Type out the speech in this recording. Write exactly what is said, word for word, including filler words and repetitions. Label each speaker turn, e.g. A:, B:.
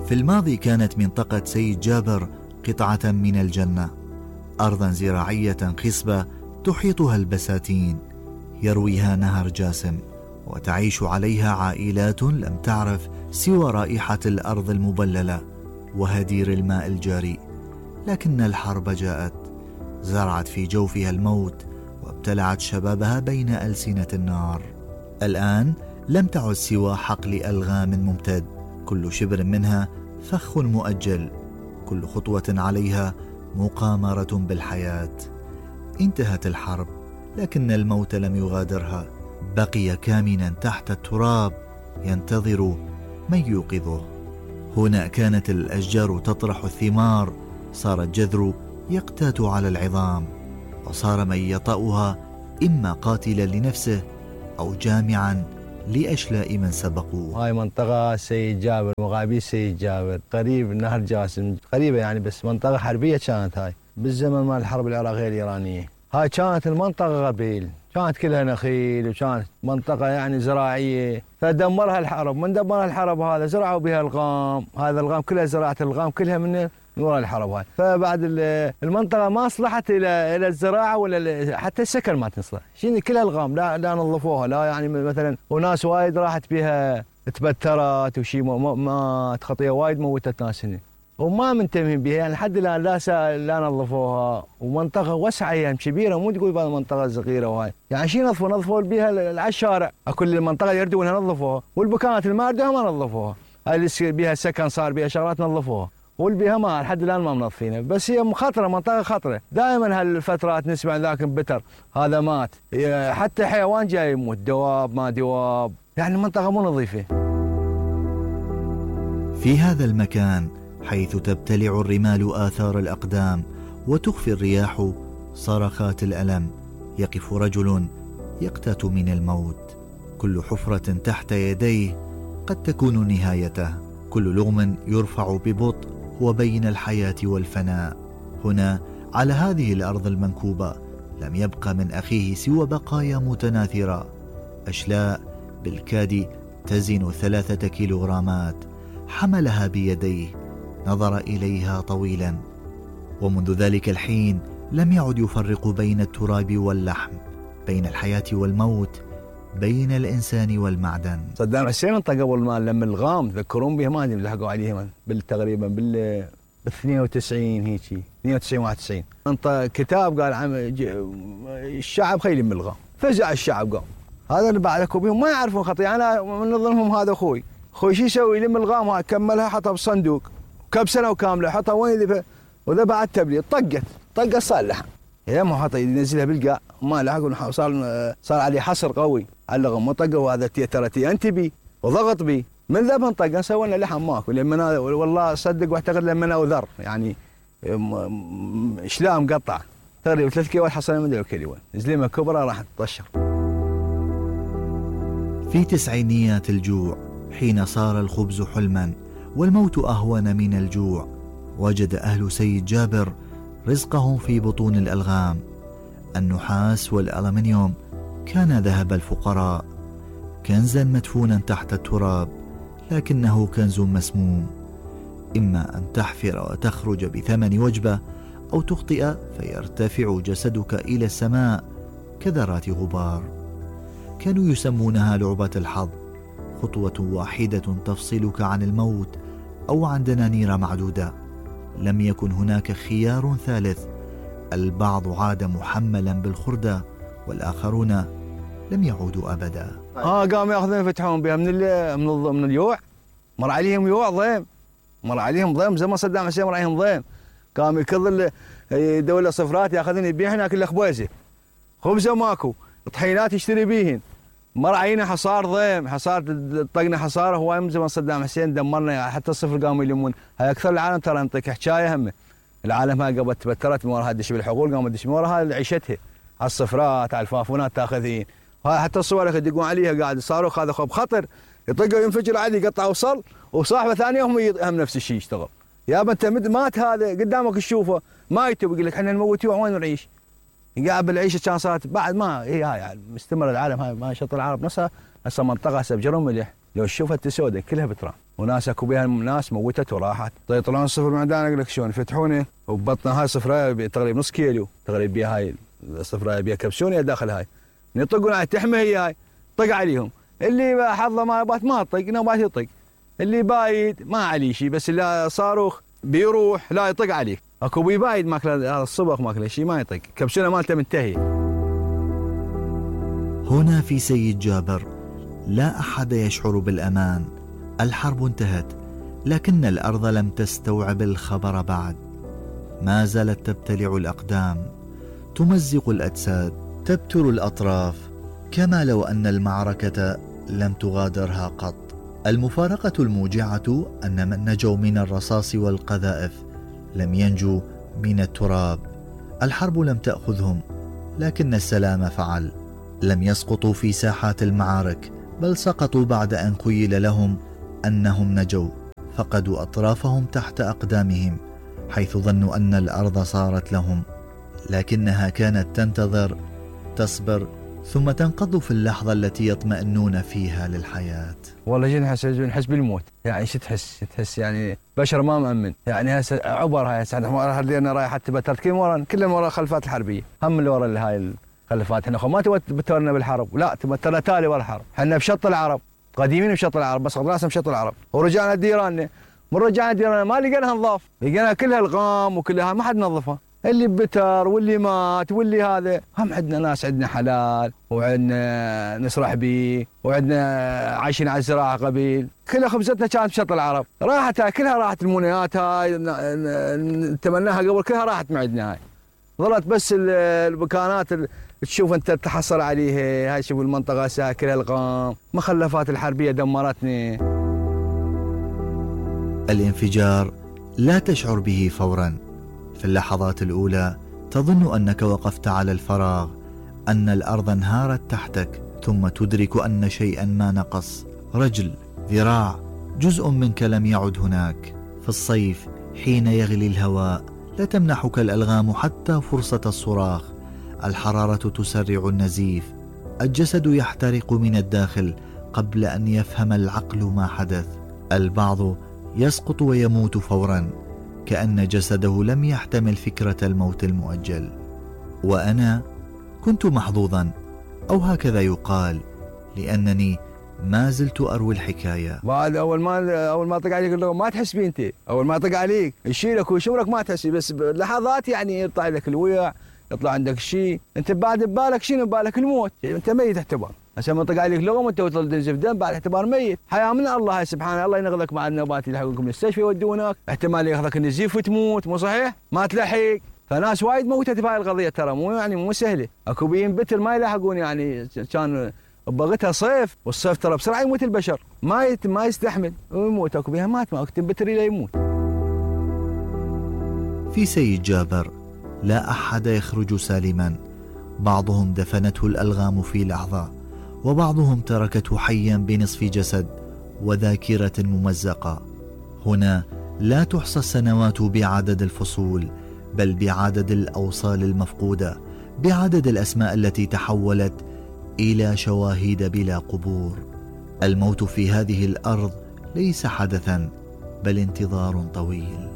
A: في الماضي كانت منطقة سيد جابر قطعة من الجنة، أرضا زراعية خصبة تحيطها البساتين، يرويها نهر جاسم، وتعيش عليها عائلات لم تعرف سوى رائحة الأرض المبللة وهدير الماء الجاري. لكن الحرب جاءت، زرعت في جوفها الموت وابتلعت شبابها بين ألسنة النار. الآن لم تعد سوى حقل ألغام ممتد، كل شبر منها فخ مؤجل، كل خطوة عليها مقامرة بالحياة. انتهت الحرب، لكن الموت لم يغادرها، بقي كامنا تحت التراب ينتظر من يوقظه. هنا كانت الأشجار تطرح الثمار، صار الجذر يقتات على العظام، وصار من يطأها إما قاتلا لنفسه أو جامعا لأشلاء من سبقوه.
B: هاي منطقة سيد جابر، مغابير سيد جابر، قريب نهر جاسم، قريبة يعني، بس منطقة حربية كانت هاي بالزمن مال الحرب العراقية الإيرانية. هاي كانت المنطقة غبيل، كانت كلها نخيل، وكانت منطقة يعني زراعية، فدمرها الحرب. من دمرها الحرب هذا زرعوا بها الغام، هذا الغام كلها زراعة الغام كلها من وراء الحرب هاي. فبعد المنطقة ما أصلحت إلى إلى الزراعة ولا حتى السكن ما تصلح، شنو كلها الغام، لا لا نظفوها، لا يعني مثلا، وناس وايد راحت بها تبترت وشي مات، خطية وايد موتت ناس هنا وما منتبهين بها يعني لحد الآن، لا لا نظفوها. ومنطقة واسعة يعني كبيرة، مو تقول بهذه منطقة صغيرة وهاي، يعني شي نظفوا نظفوا بها على الشارع، كل المنطقة يردونها نظفوها، والبكانات الماردة ما نظفوها، هاي اللي بها سكن صار بها شغلات نظفوها، والبيها ما لحد الان ما منظفينها. بس هي خطره، منطقه خطره، دائما هالفترات نسمع ذاك بتر هذا مات، حتى حيوان جاي يموت، دواب ما دواب، يعني المنطقه مو نظيفه.
A: في هذا المكان حيث تبتلع الرمال آثار الأقدام وتخفي الرياح صرخات الألم، يقف رجل يقتات من الموت. كل حفرة تحت يديه قد تكون نهايته، كل لغم يرفع ببطء وبين الحياة والفناء. هنا على هذه الأرض المنكوبة لم يبق من أخيه سوى بقايا متناثرة، أشلاء بالكاد تزن ثلاثة كيلوغرامات، حملها بيديه، نظر إليها طويلا، ومنذ ذلك الحين لم يعد يفرق بين التراب واللحم، بين الحياة والموت، بين الإنسان والمعدن.
B: صدام حسين انطى قبل ما لما الغام تذكرون به، ما ادري لحقوا عليه بالتقريبا بال اثنين وتسعين هيجي اثنين وتسعين واحد وتسعين، انطى كتاب قال عم الشعب خيل من الغام، فزع الشعب قام. هذا اللي بعدكم بهم ما يعرفون خطيه، انا من ظنهم هذا اخوي، اخوي شو يسوي؟ يلم الغام كملها حطها بالصندوق كم سنه وكامله، حطها وين ذبح، وذا بعد تبليط طقت طقت صار لحم، يا ما حط ينزلها بالقاع ما لحق، صار صار عليه حصر قوي على الغم، طقه وهذا ترى تي انت بي وضغط بي، من ذبح طقه سوينا لحم ماكو، لما والله صدق واعتقد لما وذر يعني شلام مقطع تقريبا ثلاث كيلو حصلنا من كيلو، زلمه كبرى راح تطشر.
A: في تسعينيات الجوع، حين صار الخبز حلما والموت أهون من الجوع، وجد أهل سيد جابر رزقهم في بطون الألغام. النحاس والألمنيوم كان ذهب الفقراء، كنزا مدفونا تحت التراب، لكنه كنز مسموم، إما أن تحفر وتخرج بثمن وجبة، أو تخطئ فيرتفع جسدك إلى السماء كذرات غبار. كانوا يسمونها لعبة الحظ، خطوة واحدة تفصلك عن الموت أو عن دنانير معدودة. لم يكن هناك خيار ثالث، البعض عاد محملا بالخردة، والآخرون لم يعودوا أبدا.
B: اه قاموا ياخذون يفتحون بها من من من اليوع، مر عليهم يوع ضيم، مر عليهم ضيم زي ما صدام حسين مر عليهم ضيم، قام يكض دولة صفرات ياخذون يبيعن هناك الخبيزه، خبزه ماكو، طحينات يشتري بيهن، مر علينا حصار ضيم، حصار طقنا حصاره هواي من زمان صدام حسين دمرنا، حتى الصفر قاموا يلمون. هاي اكثر العالم ترى نعطيك حكايه همه، العالم هاي قبل تبترت من وراها تدش بالحقول، قامت تدش من وراها عيشتها على الصفرات على الفافونات تاخذين، هاي حتى الصور يدقون عليها قاعد صاروخ هذا خب خطر يطقوا ينفجر عادي يقطع وصل، وصاحبه ثانيه هم هم نفس الشيء يشتغل. يا انت مات هذا قدامك تشوفه ما يتوب، يقول لك احنا نموت وين نعيش؟ قاعد بالعيشه كان صارت بعد ما هي هاي يعني مستمر العالم هاي ما شط العرب نفسها هسه منطقه هسه بجرم ملح لو تشوفها تسود كلها بترام وناس اكو بها ناس موتت وراحت طيب يطلعون صفر من عندنا اقول لك شلون يفتحونه وببطنها هاي صفرايه تقريبا نص كيلو تقريبا بها هاي الصفرايه بها كبسونه داخل هاي يطقون على تحمى هي هاي طق عليهم اللي حظه ما بات ما طق نوبات يطق اللي بايد ما عليه شيء بس اللي صاروخ بيروح لا يطق عليك اكو بي بايد ماكله هذا الصبغ ماكله شيء ما يطق كبسونه مالته منتهي.
A: هنا في سيد جابر لا أحد يشعر بالأمان. الحرب انتهت لكن الأرض لم تستوعب الخبر بعد. ما زالت تبتلع الأقدام، تمزق الأجساد، تبتر الأطراف، كما لو أن المعركة لم تغادرها قط. المفارقة الموجعة أن من نجوا من الرصاص والقذائف لم ينجوا من التراب. الحرب لم تأخذهم لكن السلام فعل. لم يسقطوا في ساحات المعارك بل سقطوا بعد أن خيل لهم أنهم نجوا. فقدوا أطرافهم تحت أقدامهم حيث ظنوا أن الأرض صارت لهم، لكنها كانت تنتظر، تصبر، ثم تنقض في اللحظة التي يطمئنون فيها للحياة.
B: والله جينا نحس نحس بالموت، يعني شو تحس؟ تحس يعني بشر ما مأمن، يعني هسه عبر هاي هسه احنا رايح حتى بتركين ورا كلهم ورا الخلفات الحربية، هم اللي ورا هاي الخلفات. احنا ما تبترنا بالحرب، لا تبترنا تالي ورا الحرب، احنا بشط العرب، قديمين بشط العرب بس راسنا بشط العرب، ورجعنا ديراننا، من رجعنا ديراننا ما لقيناها نظاف، لقينا كلها الغام وكلها ما حد نظفها. اللي بتر واللي مات واللي هذا. هم عندنا ناس عندنا حلال وعندنا نسرح بيه وعندنا عايشين على الزراعه قبيل، كلها خبزتنا كانت بشط العرب، راحت كلها راحت المنايات هاي نتمناها قبل كلها راحت من عندنا هاي. ظلت بس المكانات تشوف انت تحصل عليها هاي. شوف المنطقه هسه كلها الغام، مخلفات الحربيه دمرتني.
A: الانفجار لا تشعر به فورا. في اللحظات الأولى تظن أنك وقفت على الفراغ، أن الأرض انهارت تحتك، ثم تدرك أن شيئا ما نقص، رجل، ذراع، جزء منك لم يعد هناك. في الصيف حين يغلي الهواء لا تمنحك الألغام حتى فرصة الصراخ. الحرارة تسرع النزيف، الجسد يحترق من الداخل قبل أن يفهم العقل ما حدث. البعض يسقط ويموت فورا كأن جسده لم يحتمل فكرة الموت المؤجل. وأنا كنت محظوظا، أو هكذا يقال، لأنني ما زلت أروي الحكاية.
B: بعد أول ما أول ما طق عليك اللغة ما تحس بيه أنت، أول ما طق عليك يشيلك ويشورك ما تحسي، بس بلحظات يعني يطلع لك الويع، يطلع عندك شيء، أنت بعد ببالك شنو؟ ببالك الموت، أنت ميت اعتبار. هسه ما طق عليك لغم وأنت تنزف دم بعد اعتبار ميت. حياة من الله سبحانه، الله ينقذك مع النوبات يلحقونكم المستشفى يودونك، احتمال ياخذك النزيف وتموت، مو صحيح؟ ما تلحق. فناس وايد موتت بهاي القضية ترى، مو يعني مو سهلة. اكو بيين بتر ما يلاحقون، يعني كان بغتها صيف، والصيف ترى بسرعة يموت البشر، ما يت ما يستحمل ويموت. اكو بيها مات ما اكو بتر الى يموت.
A: في سيد جابر لا أحد يخرج سالما. بعضهم دفنته الألغام في لحظة، وبعضهم تركته حيا بنصف جسد وذاكرة ممزقة. هنا لا تحصى السنوات بعدد الفصول، بل بعدد الأوصال المفقودة، بعدد الأسماء التي تحولت إلى شواهد بلا قبور. الموت في هذه الأرض ليس حدثا بل انتظار طويل.